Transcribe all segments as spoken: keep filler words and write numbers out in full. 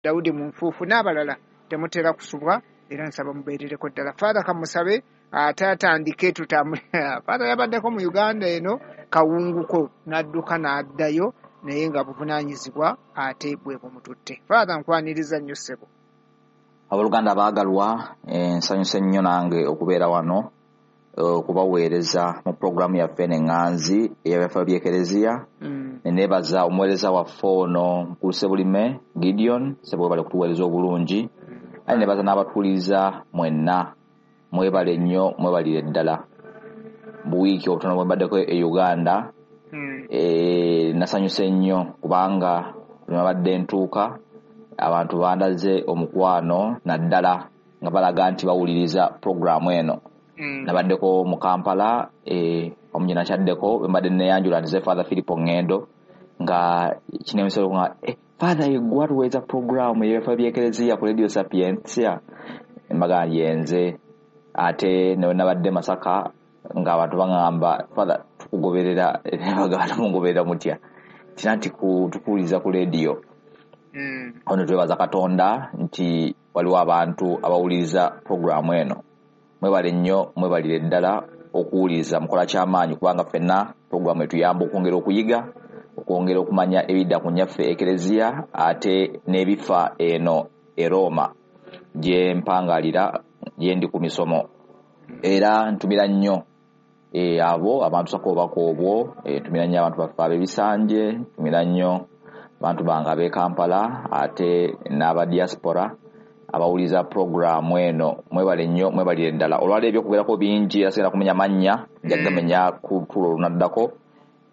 Daudi mu nfuufu n'abalala temutera kusubwa, era nsaba mubeerereko ddala. Father kamusabe ate atandike tutambule. Father yabaddeko mu Uganda eno kawunguko n'adduka n'addayo, naye nga buvunaanyizibwa ate bwe bumututte. Father, nkwaniriza nnyo ssebo. Abooluganda abaagalwa, nsanyuse nnyo nange okubeera wano okubaweereza mu puroguramu yaffe eno eŋŋanzi ey'ebyafaayo by'Ekereziya. Mm. Ne neebaza omuweereza waffe ono Mukulu Ssebulime Gideon, ssebo webale kutuweereza obulungi. Aye neebaza n'abatuwuliriza mwenna, mwebale nnyo, mwebalire ddala. Buwiiki obutono bwe mbaddeko e Uganda, Mm. eh, nasanyuse nnyo kubanga bwe nabadde ntuuka abantu bandaze omukwano, naddala nga balaga nti bawuliriza puroguramu eno. Mm. Nabaddeko mu Kampala, eh, omu gye nakyaddeko bwe mbadde neeyanjula nti ze Father Philip Ngendo, nga kineemisolo nga, eh, Father yeggwe atuweereza puroguramu ey'ebyafaayo by'Ekereziya ku Radio Sapientia, embaga yenze. Ate ne nabadde Masaka ng'abantu baŋŋamba, Father tukugoberera, bagamba mungoberera mutya? Tina nti tukuwuliriza ku radio. Mm. Ono twebaza Katonda nti waliwo abantu abawuliriza puroguramu eno. Mwebale nnyo, mwebalire ddala okuwuliriza, mukola kyamaanyi kubanga ffenna puroguramu etuyamba okwongera okuyiga, okwongera okumanya ebidda ku nnyaffe Ekereziya ate n'ebifa eno e Roma gye mpangalira, gye ndi ku misomo. Era ntumira nnyo, e, abo abantu sako obubaka obwo, e, ntumira nnyo abantu baffe ab'ebisanje, ntumira nnyo abantu bange ab'e Kampala ate n'aba diaspora abawuliriza puroguramu eno. Mwebale nnyo, mwebalire ddala. Olwaleero ebyokugerako bingi era sigenda kumenya mannya, nja kugamenya ku tulo olunaddako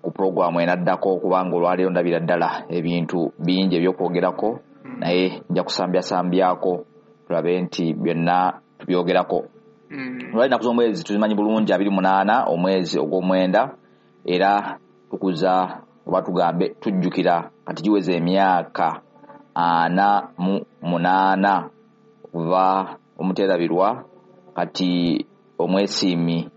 ku puroguramu enaddako, kubanga olwaleero ndabira ddala ebintu bingi ebyokwogerako, naye nja kusambyasambyako tulabe nti byonna tubyogerako. Mm. Olwaleero ennaku z'omwezi tuzimanyi bulungi, abiri munaana omwezi ogw'omwenda, era tukuza oba tugambe tujjukira kati giweze emyaka ana mu munaana okuva omuteerabirwa kati omwesiimi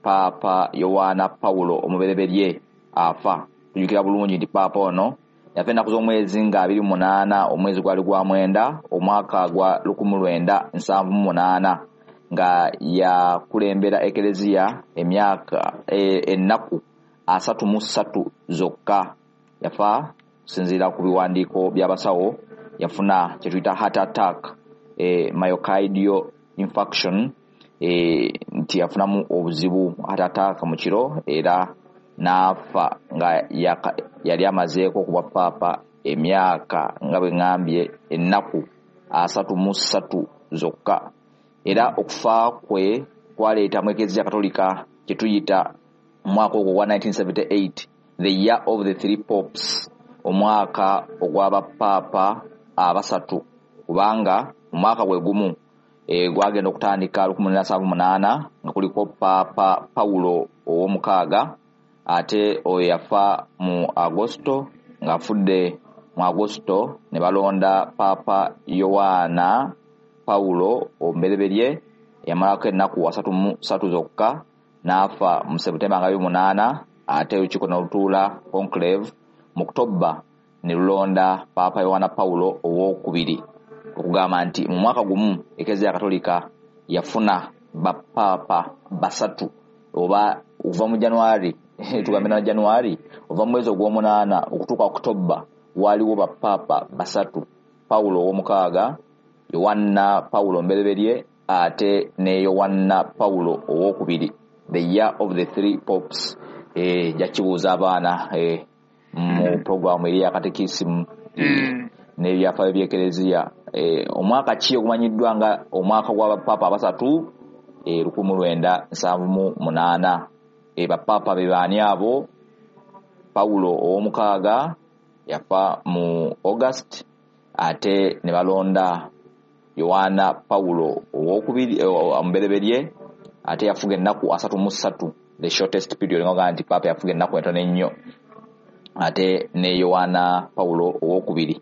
Paapa Yowaana Pawulo omubereberye afa. Tujjukira bulungi nti Paapa ono yafa ennaku z'omwezi nga abiri munaana omwezi gwali gwa mwenda omwaka gwa lukumi lwenda nsanvu mu munaana, nga yakulembera Ekereziya emyaka, e, ennaku asatu mu ssatu zokka. Yafa kusinziira ku biwandiiko by'abasawo, yafuna kye tuyita heart attack, e, myocardial infarction, e, nti yafunamu obuzibu heart attack mu kiro era n'afa nga yaka, yali amazeeko okuba Paapa emyaka nga bwe ŋŋambye ennaku asatu mu ssatu zokka. Era okufa kwe kwaleeta mu Ekereziya Katolika kye tuyita omwaka ogwo ogwa nineteen seventy-eight, the year of the three popes, omwaka ogw'abapaapa abasatu, kubanga omwaka gwe gumu, e, gwagenda okutandika lukumi lwenda nsanvu munaana nga kuliko Paapa Pawulo ow'omukaaga, ate oyo yafa mu Agosto, ng'afudde mu Agosto ne balonda Paapa Yowaana Pawulo omubereberye, yamalako ennaku asatu mu ssatu zokka n'afa mu September nga abiri munaana, ate olukiiko ne lutuula conclave mu October ne lulonda Paapa Yowaana Pawulo owookubiri. Okugamba nti mu mwaka gumu Ekereziya Katolika yafuna bapaapa basatu, oba okuva mu January, tugambe na January, okuva mu mwezi ogw'omunaana okutuuka October waliwo bapaapa basatu, Pawulo ow'omukaaga, Yowanna Pawulo omubereberye ate ne Yowanna Pawulo owookubiri, the year of the three popes. Eh, nja kibuuza abaana, eh, mu puroguramu eri ya katekisimu Mm. n'ebyafaayo by'Ekereziya. Eh, omwaka ki ogumanyiddwa nga omwaka gw'abapaapa abasatu? Eh, lukumi lwenda nsanvu mu munaana. Eh, bapaapa be baani abo? Pawulo ow'omukaaga yafa mu August, ate ne balonda Yowaana Pawulo owookubiri, eh, omubereberye, ate yafuga ennaku asatu mu ssatu, the shortest period, nga nti Paapa yafuga ennaku entono ennyo, ate ne Yowaana Pawulo owookubiri.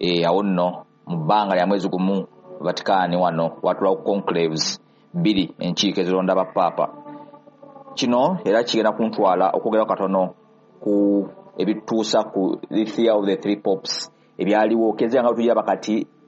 Eh, awo nno mu bbanga lya mwezi gumu Vatican wano watulawo conclaves bbiri, enkiiko ezironda bapaapa. Kino era kigenda kuntwala okwogera katono ku ebituusa ku the theory of the three popes, Ebyaliwo, kereziya nga tugiraba kati.